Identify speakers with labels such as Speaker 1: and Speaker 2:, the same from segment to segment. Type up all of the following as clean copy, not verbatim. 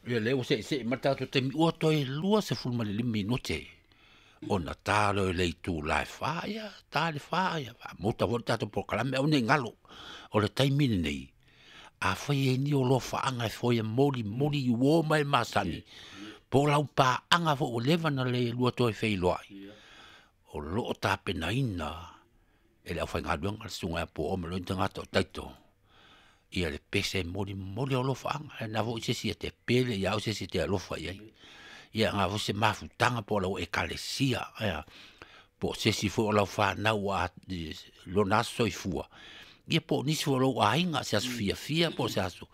Speaker 1: Ia lea ua se'ese'e ma le tatou taimi ua toe 25 minute ona ta loa i le itula e 4, ia ta le 4 ia faamuta foi le tatou polokalame, aua ne i galo. O le taimi lenei, afai e i ai ni alofaaga e foia molimoli i uo ma e masani, po o lau paaga foi ua leva ona le lua toe feiloai, o lo o tapenaina e le aufaigaluega le susuga ia Puoo ma lona tagata o Taito ia le pese e molimoli o alofaaga. E na foi se isi e te pele ia au se isi e te alofa i ai. Ia na foi se mafutaga po o lau ekalesia, ia, po o se isi foi o lau fanau ua lona aso soifua, ia po o nisi foi o lou aiga, se aso fiafia po o se aso.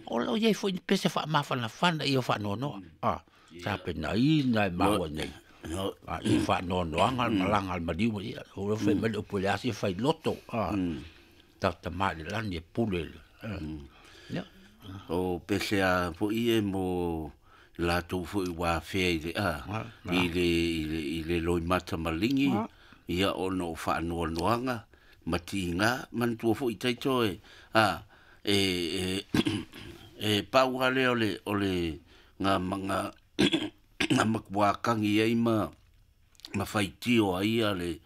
Speaker 1: O lo o i ai foi ni pese faamafanafana ia faanoanoa. Ah, tapenaina e maua nei. I faanoanoaga le malaga a le maliu, ia, o lo fai mai le upu e le asi e fai loto. Ah, tata mai le lani e pule. Ia.
Speaker 2: O pese a foi e mo latou foi ua afea i le i le loimata maligi, ia ona o faanoanoaga ma tiga, manatua foi taito e e pau lava lea o le ngā ngā matua kangi ai ma faitio ai ia le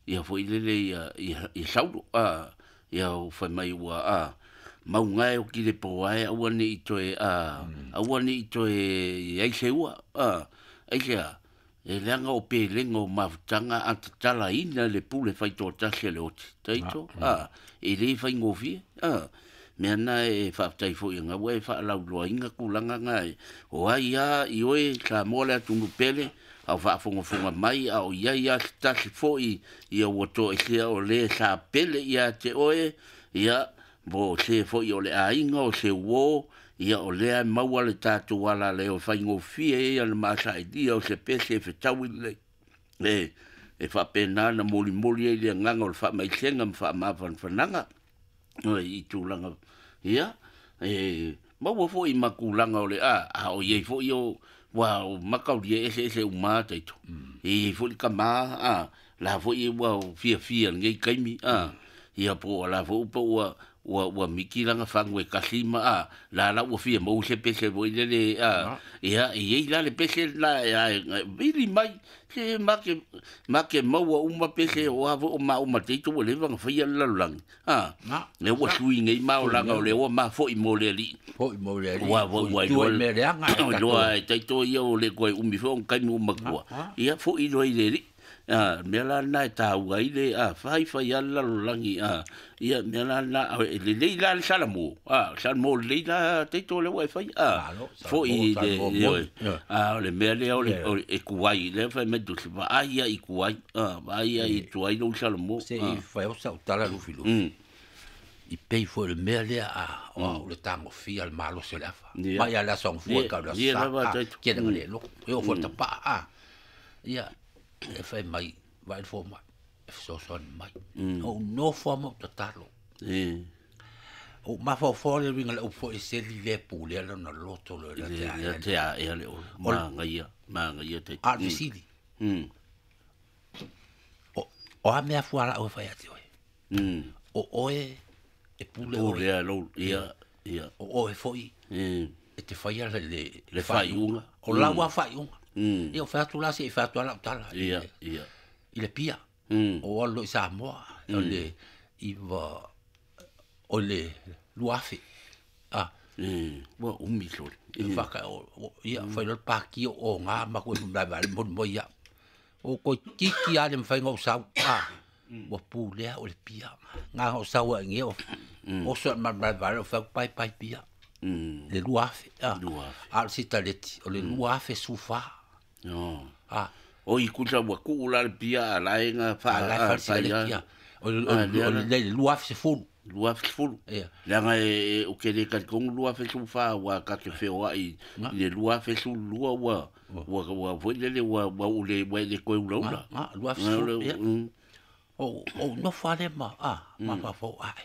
Speaker 2: ia foi lele ia Saulo ia o fai mai ua maunga e o ki le po ai aua ne i toe aua ne i toe ai se ua ai se e leaga o pelega o mafutaga a tatalaina le pule faitoatasi a le oti taito e le faigofie mea na e faafetai foi nga ua e faalauiloaina tulaga na e o ai a i oe Samoa le atunuu pele au faafogafoga mai a o iai a se tasi foi ia ua toesea o le sa pele ia te oe ia mo se foi o le aiga o se uo ia o lea maua le tatou ala le o faigofie ia le masailia o se pese e fetaui lelei e faapena na molimoli ai le agaga o le faamaisega ma faamafanafanaga i tulaga ia e maua foi ma tulaga o le a o iai foi o ua o makaulia ese ese uma taito e iai foi le tama la foi ua fiafia lenei taimi ia po o la foi po ua ua miki langa fangu e kasi ma la la ua fia mau se pese foi lele ia e iai la le pese la vili mai se make maua uma pese o a o ma uma taito ua leva na faia le lalolagi le ua sui nei ma o langa o le ua ma foi mo le alii
Speaker 1: foi mo le alii
Speaker 2: ua ua
Speaker 1: ua mea leaga
Speaker 2: e loa e taito ia o le koe umi foi o kaimi uma kua ia foi loa i le alii mea la na e taua ai le fai fai a le lalolagi ia mea la na e lelei la le salamo salamo lelei la taito le ua e fai foi le o le mea lea o le e kuai lea fai mai tusi vaai ia i kuai vaai ia i tuai lou salamo
Speaker 1: se i fai o sau tala lufilufi i pei foi le mea lea o le tagofia le malosi o le afa mai a le aso fua ka le sa ke le lo e o foi tapaa ia e fai mai vai fo mai e fesoasoani mai o nofo a mo tatalo o mafaufau le uiga le upu e seli le pule ala na loto le
Speaker 2: la te a te a e le o magaia te
Speaker 1: a fesili o a mea fua la o fai ati oe o oe e pule
Speaker 2: oe lo ia ia
Speaker 1: o oe foi e te fai ala le
Speaker 2: faiuga
Speaker 1: o lau a faiuga ia o fai atu la se i fai atu ala o tala
Speaker 2: ia ia
Speaker 1: i le pia o alo i Samoa o le iwa o le luafe
Speaker 2: ua umi sole
Speaker 1: e whaka o ia whai lor pāki o ngā maku e mlae vale mo mo ia o koi tiki a le mwhai ngau sau ua pūlea o le pia ngā ngau sau a nge o so ma mlae vale o whai pai pai pia le luafe a le sitaleti o le luafe sufa
Speaker 2: o i kusa ua kuu la le pia a lae ngā
Speaker 1: wha wha o le luafe se fulu
Speaker 2: luafe fulu leaga e o ke le talikongu luafe sufa ua ka te feoai i le luafe sulua ua ua foi lele ua ua ule ua le koe ulaula
Speaker 1: luafe sulu o nofo ale ma ma fafau ae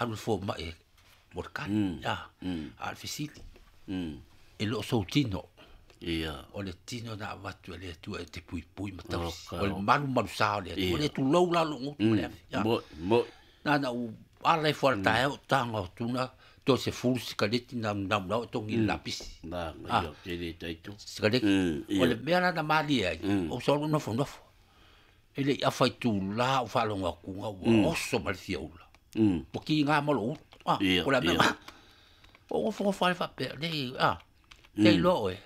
Speaker 1: alu fo mai mo le kani a le fesili e loo sou tino
Speaker 2: ia
Speaker 1: o le tino na avatu e le Atua e te puipui ma tausi o le malumalu sa o le Atua o le tulou la loo gutu ma le afi
Speaker 2: mo
Speaker 1: na na u ala i fo le taeao taga o tuna To se fulu sikaleti na na na o tongi lapisi.
Speaker 2: Na ngai o tele taito.
Speaker 1: Sikaleti. O le mea la na malie ai, o sa ulu nofo nofo. E le i afa i tūlā o faalogo atuga ua oso ma le fiaula. Ua kiga ma lou utu. Ah, o le a mea o gofogofoa le faapea le ah. Te iloa oe,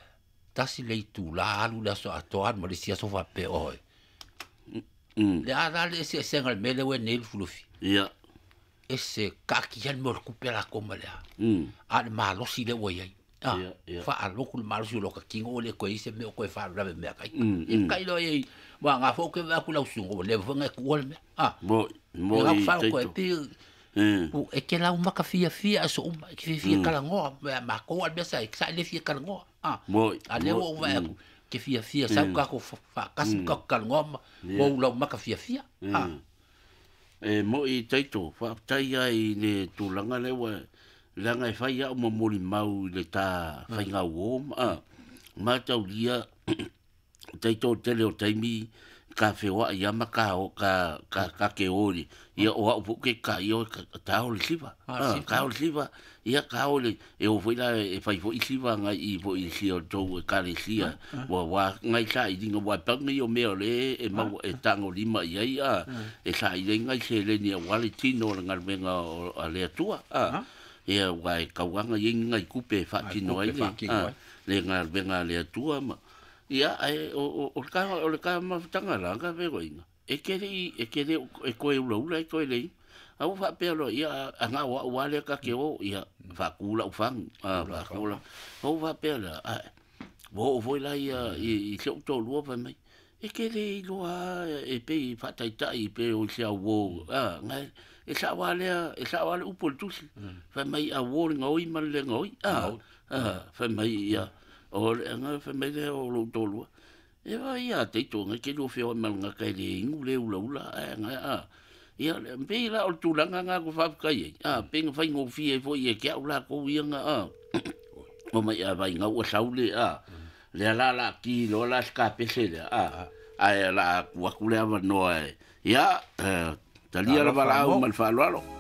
Speaker 1: tasi le itulā alu le aso atoa alu ma le isi aso faapea oe. Le a la le eseesega o le mea lea ua i ai nei Lufilufi. Ese kaatia le mea o le tupe a latou ma le a. A o le malosi lea ua i ai. Ah, faalogo le malosi o lota tino ua le toe i ai se mea o toe faalavelave mea kai. Ia kai loa i ai, aua na foi ou te vaai atu i lau susuga ua leva foi ona e tuua le mea. Ah,
Speaker 2: Mo
Speaker 1: ia
Speaker 2: i
Speaker 1: faalogo
Speaker 2: taito.
Speaker 1: e e te laumaka fiafia aso uma, e te fiafia talanoa, ma matou a le mea sa sa le fia talanoa. Ah, a lea ua ou vaai atu, te fiafia sau tatou faatasi ma tatou talanoa ma ou laumaka fiafia. Ah.
Speaker 2: E mo i taito, faafetai ai i le tulaga lea ua leaga e fai au ma molimau i le ta faigauo ma mataulia taito tele o taimi ka feoai ia ma ka o ka ka ka ke o i ia o au foi ke ka ia o ka ta o le siva. Ka o le siva ia ka o le e o foi la e fai foi siva ngai i foi i sia o tou e kalesia ua wa ngai sa i linga wa pau ngai o mea o le e mau e tango lima i ai a e sa i ngai se le ni a wale tino o le galuega o a le Atua a ia wa e kauanga i ngai kupe e faatino ai le le galuega a le Atua ma ia ai o o ka o le ka mafutanga la ka ve goinga e ke le e ke le e koe ula ula e koe le au faapea loa ia aga o au lea ka ke o ia faakū lau fagu a faakū lau ou faapea lea ae ua oo foi la ia i si ou toalua fai mai e ke le iloa e pei faataitai pe o i se auō a gae e sao lava lea e sao lava le upu o le tusi fai mai auō le gaoi ma le le gaoi a fai mai ia o le aga fai mai lea o lou toalua e vai ia taito ngai ke lua feoai ma le gaka e le inu le ulaula ae gae a ia pei la o le tulaga na ku faafetai ai a pei na faigofie ai foi e ke au lakou ia na a o mai a vai ngau sau le a le la la ki lo la ska pese le a ae la ku aku le avanoa e ia talia le valaau ma le faaaloalo.